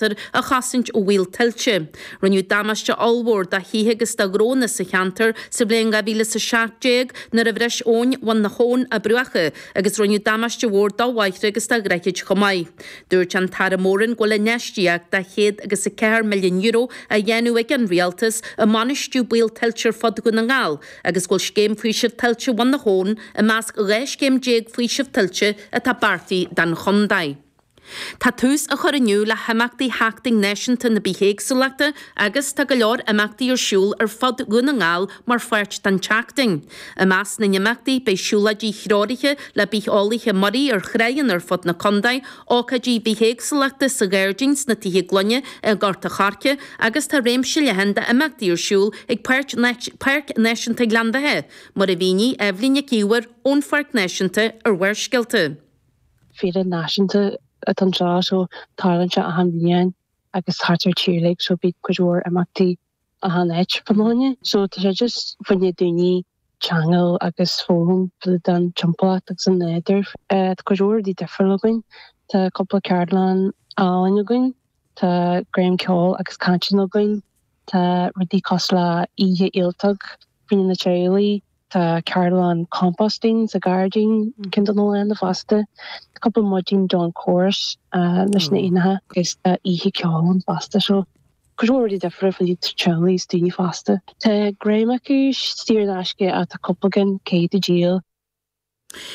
A chosaint ó bhaol tuilte. Rinneadh damáiste ollmhór do thithe agus do ghnónna sa cheantar sa bhliain 2017 nuair a bhris Abhainn Bhun na hAbhann a bruacha agus rinneadh damáiste mhór do bhóithre agus do dhroichid chomh maith. Dúirt an tAire Moran go bhfuil infheistíocht de €104 milliún á dhéanamh ag an Rialtas i mbainistiú baol tuilte ar fud Dhún na nGall agus go bhfuil scéim faoisimh tuilte Bhun na hAbhann i measc 12 scéim faoisimh tuilte atá beartaithe don chontae. Tá tús á chur inniu le himeachtaí Sheachtain Náisiúnta na Bithéagsúlachta agus tá go leor imeachtaí ar siúl ar fud Dhún na nGall mar pháirt den tseachtain. I measc na n-imeachtaí beidh siúlóidí threoraithe le bitheolaithe muirí ar thráigheanna ar fud na contae, ócáidí bithéagsúlachta sa ghairdín sna Tithe Gloine i nGort a' Choirce agus tá réimse leathan d'imeachtaí ar siúl ag Páirc Náisiúnta Ghleann Bheatha, mar a mhínigh Eibhlín Nic Íomhair ón Pháirc Náisiúnta ar Bharrscéalta. Féile náisiúnta atá anseo so tarlaíonn sé achan bhliain agus thart ar tír uilig so bíonn cuid mhór imeachtaí achan áit fá choinne. So tá sé just fá choinne daoine teagmháil agus foghlaim den timpeallacht agus an nádúr. Tá cuid mhór rudaí difriúil againn. Tá cúpla ceardlann álainn againn, tá greim ceoil agus cainteanna againn, tá rudaí cosúil le oíche fhéilteach fá choinne na teaghlaigh, Tá ceardlann composting sa ghairdín ceann de na laethanta fosta. Tá cúpla maidin don chorus leis na éanacha agus tá oíche ceoil ann fosta so cuid mhór rudaí difriúla fá choinne teaghlaigh is daoine fásta. Tá greim acu saor in aisce ach tá cúpla ceann caithfidh tú díol.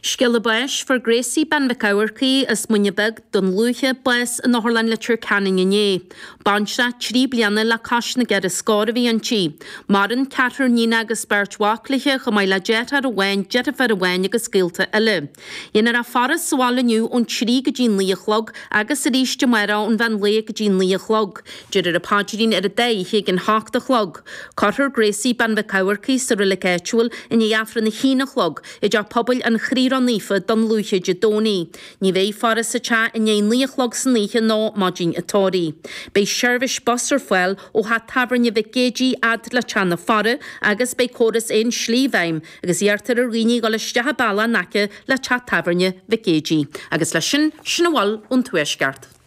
Scéala báis, Fuair Gracie Bean Mhic Eamharcaigh as Muine Bheag, Dún Lúiche, bás in Otharlann Leitir Ceanainn inné. Baintreach 3 bliana le cois na gceithre scór a bhí inti. Maireann ceathrar níonacha agus beirt mhac léi, chomh maith le deartháir amháin, deirfiúr amháin agus gaolta eile. Dhéanfar a faire sa bhaile inniu ón 3 go dtí 9 a chlog agus arís amárach ón mheán lae go dtí 9 a chlog. Déarfar an paidrín ar an dá oíche ag an hocht a chlog. Cuirfear Gracie Bean Mhic Eamharcaigh sa reilig áitiúil i ndiaidh Aifreann a haon a chlog i dTeach Pobail an Chroí Ró-Naofa, Dún Lúiche Dé Domhnaigh. Ní bheidh faire sa teach i ndiaidh 9 a chlog san oíche nó maidin an tórraimh. Beidh seirbhís bus ar fáil ó theach tábhairne Mhic Géidigh fhad le teach na faire agus beidh córas aon slí i bhfeidhm agus iarrtar ar dhaoine dhul isteach an bealach in aice le teach tábhairne Mhic Géidigh. Agus leis sin, sin a bhfuil ón Tuaisceart.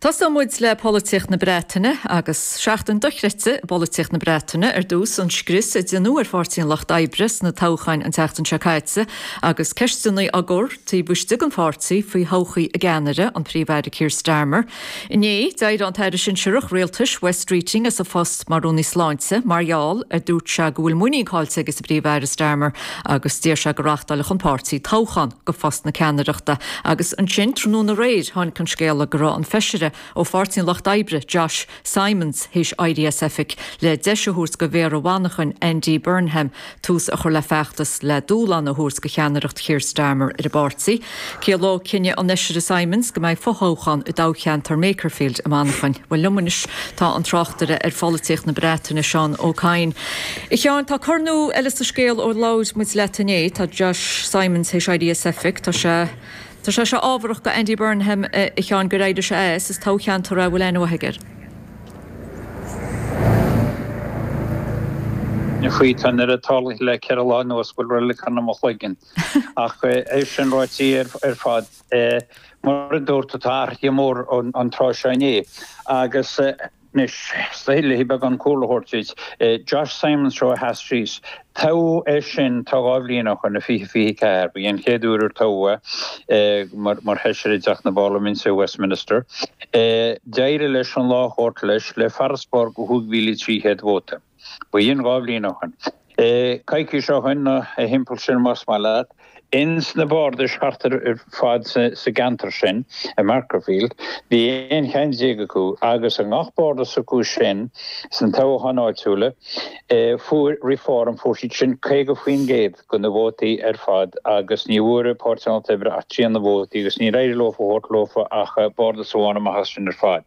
Tosóidh muid le polaitíocht na Breataine agus seachtain dochreidte i bpolaitíocht na Breataine. Ar dtús, an scrios a déanadh ar Pháirtí an Lucht Oibre sna toghcháin an tseachtain seo caite agus ceisteanna á gcur taobh istigh den pháirtí faoi thodhchaí a gceannaire, an Príomh-Aire Keir Starmer. Inné, d'éirigh an tAire Sinsearach Rialtais, Wes Streeting, as a phost mar Rúnaí Sláinte mar gheall ar dúirt sé go bhfuil muinín caillte aige sa bPríomh-Aire Starmer agus d'iarr sé go reáchtálfadh an páirtí toghchán go phost na ceannaireachta. Agus ansin, tráthnóna aréir, tháinig an scéala go raibh an feisire ó Pháirtí an Lucht Oibre, Josh Simons, théis éirí as oifig le deis a thabhairt go Mhéara Mhanchain, Andy Burnham, tús a chur le feachtas le dúshlán a thabhairt go cheannaireacht Keir Starmer ar an bpáirtí. Ciallóidh cinneadh an Fheisire Simons go mbeidh fothoghchán i dtoghcheantar Makerfield i Manchain. Bhuel liom anois tá an tráchtaire ar pholaitíocht na Breataine, Seán Ó Cadhain. A Sheáin, tá cor nua eile sa scéal ó labhair muid leat inné. Tá Josh Simons théis éirí as oifig. Tá sé Tá sé seo ábharach go Andy Burnham, a Sheáin, gur éirigh sé as. Is toghcheantar é a bhfuil aithne mhaith aige air. Faoi tá an oiread tarlaithe le 4 lá anuas go bhfuil roilig i mo chloigeann. Ach é sin ráite ar fad, mar a dúirt tú, tá athruithe mór an tráth seo inné agus anois, is dóigh le beagán cúlra a thabhairt duit, Josh Simons seo a sheas síos, toghadh é sin tá 2 bhliain ó shoin, i 2024, ba í an chéad uair ar toghadh é mar Fheisire i dTeach na bParlaiminte, Westminster. D'éirigh leis an lá a thabhairt leis le farasbarr de 5,300 vóta. Ba shin 2 bhliain ó shoin. Coicís ó shoin, nó thimpeall sin más maith leat, ins na bardais thart ar fad sa gceantar sin, i Makerfield, bhí 11 cheann acu agus i ngach bardas acu sin sna toghcháin áitiúla, fuair Reform, fuair siad sin 50% de na vótaí ar fad agus ní bhfuair Páirtí an Lucht Oibre ach trian de na vótaí agus níor éirigh leo a thabhairt leofa ach bardas amháin amach as sin ar fad.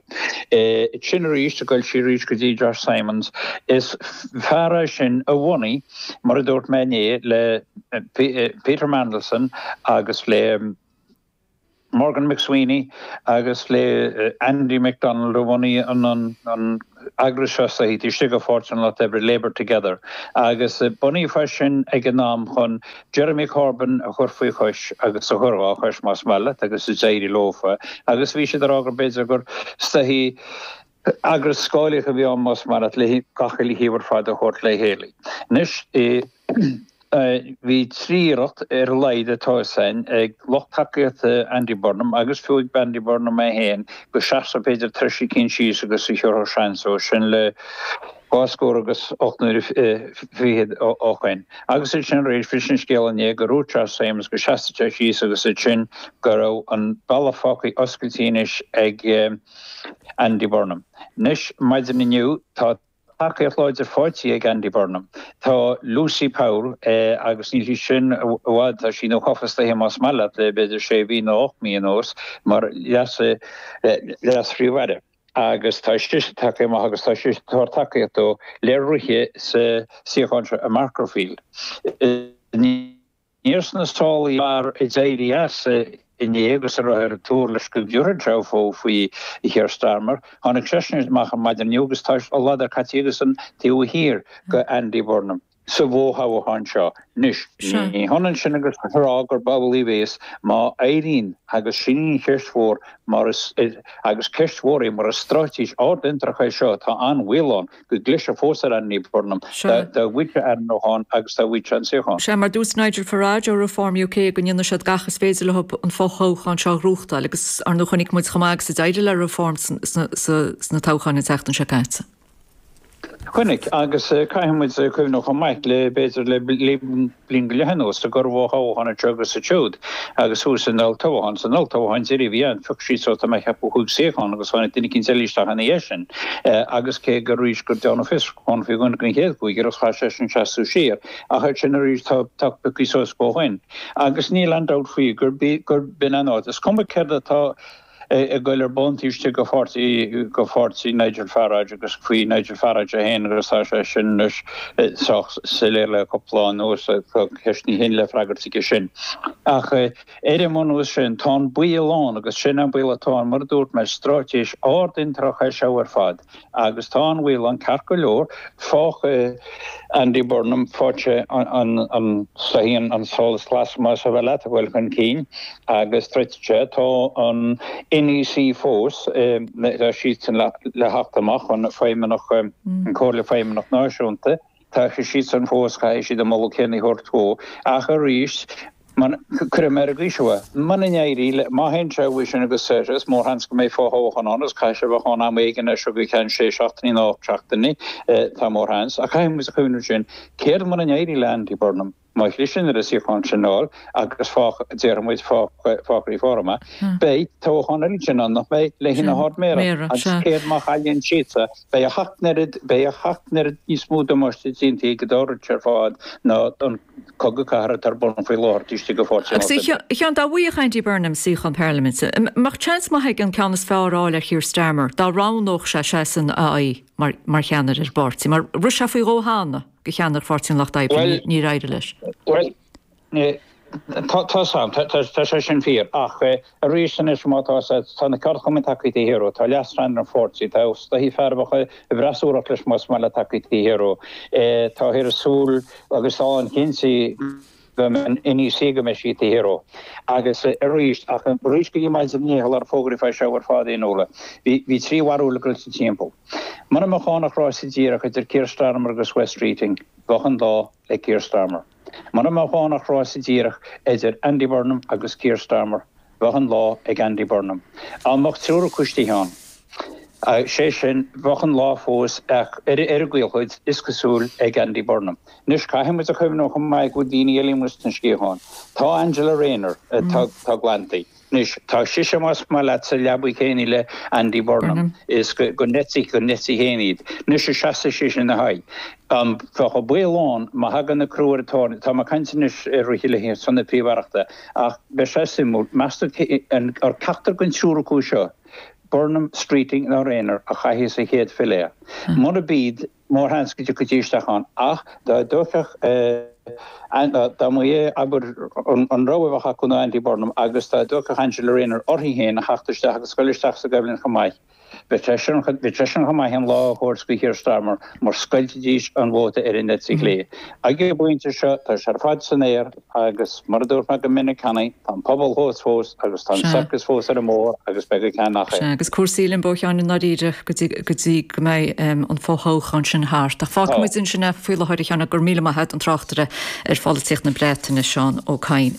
Sin arís, ag dul siar arís go dtí Josh Simons, is fear é sin a bhunaigh, mar a dúirt mé inné, le Peter Mandelson agus le. Morgan McSweeney agus le Andy McDonald a bhunaigh an eagras seo sa taobh istigh de Pháirtí an Lucht Oibre, Labour Together, agus bunaíodh é sin ag an am chun Jeremy Corbyn a chur faoi chois agus a chur dhá chois más maith leat agus d'éirigh leofa agus bhí siad ag rá gur b'fhéidir gur is dóichí eagras scáileach a bhí ann más maith leat le gach uile thaobh ar fad a thabhairt le chéile. Anois bhí 3 iarracht ar a laghad atá fhios againn ag lucht tacaíochta Andy Burnham agus fiú ag Andy Burnham é féin go seasfadh b'fhéidir treis eicínt síos agus a thiúrfadh seans dó, sin le dhá scór agus 8 n-uaire fichead ó shoin. Agus ansin arís bhris an scéal inné gur dhúirt Josh Simons go seasfadh sé síos agus ansin go raibh an bealach fágtha oscailte anois ag Andy Burnham. Anois maidin inniu tá tacaíocht láidir faighte ag Andy Burnham. Tá Lucy Powell, agus níl sí sin i bhfad, tá sí nuathofa is dóiche más maith leat le b'fhéidir sé mhí nó 8 mí anuas mar leas-phríomh-aire agus tá sise tagtha amach agus tá sise ag tabhairt tacaíocht dó le rith sa suíochán seo i Makerfield. Níor sna sálaí fear a d'éirigh as inné agus a raibh ar an tuar leis go dtabharfadh sé fogha faoi Keir Starmer. Tháinig seisean amach ar maidin inniu agus tá a ladar caite aigesan taobh thiar de Andy Burnham sa bhfothoghchán seo. Anois, ní hionann sin agus a rá gurb amhlaidh a bhéas má éiríonn, agus sin í an cheist mhór, mar is, agus ceist mhór í, mar is straitéis ardfhiontrach é seo, tá an-bhaol ann. go gclisfeadh fós ar Andy Burnham dá bhfaigheadh sé ainmniúchán agus dá bhfaigheadh sé an suíochán. Sea, mar dúirt Nigel Farage ó Reform UK go ndéanfaidh siad gach is féidir leo an fothoghchán seo a ghnóthachtáil agus ar ndóigh chonaic muid chomh maith agus a d'éirigh le Reform sna toghcháin an tseachtain seo caite. Chonaic, agus caithfidh muid cuimhneamh chomh maith le b'fhéidir le bliain go leith anuas go raibh fothoghchán anseo agus ansiúd agus thuas san olltoghchán. San olltoghchán deiridh a bhí ann, phioc siad suas tá mé ag ceapadh chúig suíochán agus tháinig duine eicínt eile isteach ina dhiaidh sin agus cé gur arís gur dearnadh fiosrúchán faoi dhuine den chéad chúigear agus chaith seisean seasamh siar ach ansin arís tá tá pioctha suas ó shoin agus níl aon dabht faoi gur b'in an áit. Is cuma céard atá ag goil ar bun taobh istigh de pháirtí, de pháirtí Nigel Farage agus faoi Nigel Farage é féin agus tá sé sin anois sách soiléir le cúpla lá anuas, tá ceisteanna féin le freagairt aige sin. Ach ar an mbunús sin, tá an baol ann agus sin an baol atá ann, mar a dúirt mé, straitéis ardfhiontrach é seo ar fad. Agus tá an baol ann ceart go leor, faigheann Andy Burnham, faigheann sé an soithín, an solas glas más maith leat, a ghoil chun cinn agus troidfidh sé. Tá an NEC fós, tá siadsan le theacht amach, an Feidhmeannach, an Comhairle Feidhmeannach Náisiúnta. Tá siadsan fós, caithfidh siad an moladh céanna a thabhairt dó. Ach arís, cuirfidh mé ar an gcaoi seo é, muna n-éirí le, má théann sé uaidh sin agus is mórsheans go mbeidh fothoghchán ann agus caithfidh sé a bheith ann am éigin as seo go ceann sé seachtainí nó 8 seachtainí, tá mórsheans. Ach caithfidh muid a chuimhneamh ansin, céard muna n-éirí le Andy Burnham? Má chliseann ar an suíochán sin a fháil agus fá, déarfaidh muid, fá, fá Reform, beidh toghchán eile ansin ann, nach mbeidh, le haghaidh na hArd-Mhéara agus céard má chailleann siadsan, beidh a sheacht n-oiread, beidh a sheacht n-oiread níos mó damáiste déanta ag an dá rud seo ar fad ná an cogadh cathartha atá ar bun faoi láthair taobh istigh de pháirtí an Agus Lucht Oibre. a Sheáin, dá bhfaigheadh Andy Burnham suíochán parlaiminte, an mbeadh seans maith aige an ceann is fearr a fháil ar Keir Starmer dá roghnódh sé seisean a aghaidh mar, mar cheannaire ar an bpáirtí, mar rith sé faoi dhó cheana? do cheannaire Pháirtí an Lucht Oibre, níor éirigh leis. Bhuel, tá 's a'm, tá sé sin fíor, ach arís anois má tá tá na ceardchumainn tagtha taobh thiar dhó, tá leascheannaire an pháirtí, tá is dóichí fear a bheadh i bhfreasúracht leis más maith leat tagtha taobh thiar dhó, táthar ag súil agus tá an-chinnte go mbeidh an NEC go mbeidh sí taobh thiar dhó. Agus arís, ach arís go dtí maidin inné shular fógraíodh é seo ar fad a Fhionnuala, bhí 3 bharúil ag goil sa timpeall. Mura mbeadh ann ach rása díreach idir Keir Starmer agus Wes Streeting, bheadh an lá le Keir Starmer. Mura mbeadh ann ach rása díreach idir Andy Burnham agus Keir Starmer, bheadh an lá ag Andy Burnham. Dá mbeadh triúr acu istigh ann, sé sin, bheadh an lá fós ach ar an gcaolchuid, is cosúil, ag Andy Burnham. Anois, caithfidh muid a chuimhneamh chomh maith go bhfuil daoine eile amuigh sna sciatháin. Tá Angela Rayner, tá glanta. Anois, tá sise, más maith leat, sa leabaidh chéanna le Andy Burnham, is go n-eití, go n-eití féin iad. Anois, an seasfaidh sise ina haghaidh? Bheadh an baol ann, má thagann an crú ar an tairne, tá mé ag caint anois ar rith le son na Príomh-Aireachta, ach beidh sé suimiúil, meas tú an ceachtar den triúr acu seo, Burnham, Streeting nó Rayner, a chaithfidh sa chéad filléar? Murab iad, mórsheans go dtiocfaidís isteach ann, ach dá dtiocfadh. Dá mba é, abair, an rogha a bheadh acu ná Andy Burnham agus dá dtiocfadh Angela Rayner uirthi féin a theacht isteach agus goil isteach sa gcoimhlint chomh maith, bheadh seisean chomh maith an lá a thabhairt do Keir Starmer mar scoiltfidís an vóta ar an eite chlé. Ag an bpointe seo, tá sé ar fad san aer agus, mar a dúirt mé go minic cheana, tá an pobal thuas fós agus tá an circus fós ar an mbóthar agus beidh go ceann nach é. Sea, agus cúrsaí i limbo, a Sheáin, i ndáiríre go dtí go mbeidh an fothoghchán sin thart. Ach fágfaidh muid ansin é faoi láthair, a Sheáin, go raibh míle maith agat, an tráchtaire ar pholaitíocht na Breataine, Seán Ó Cadhain.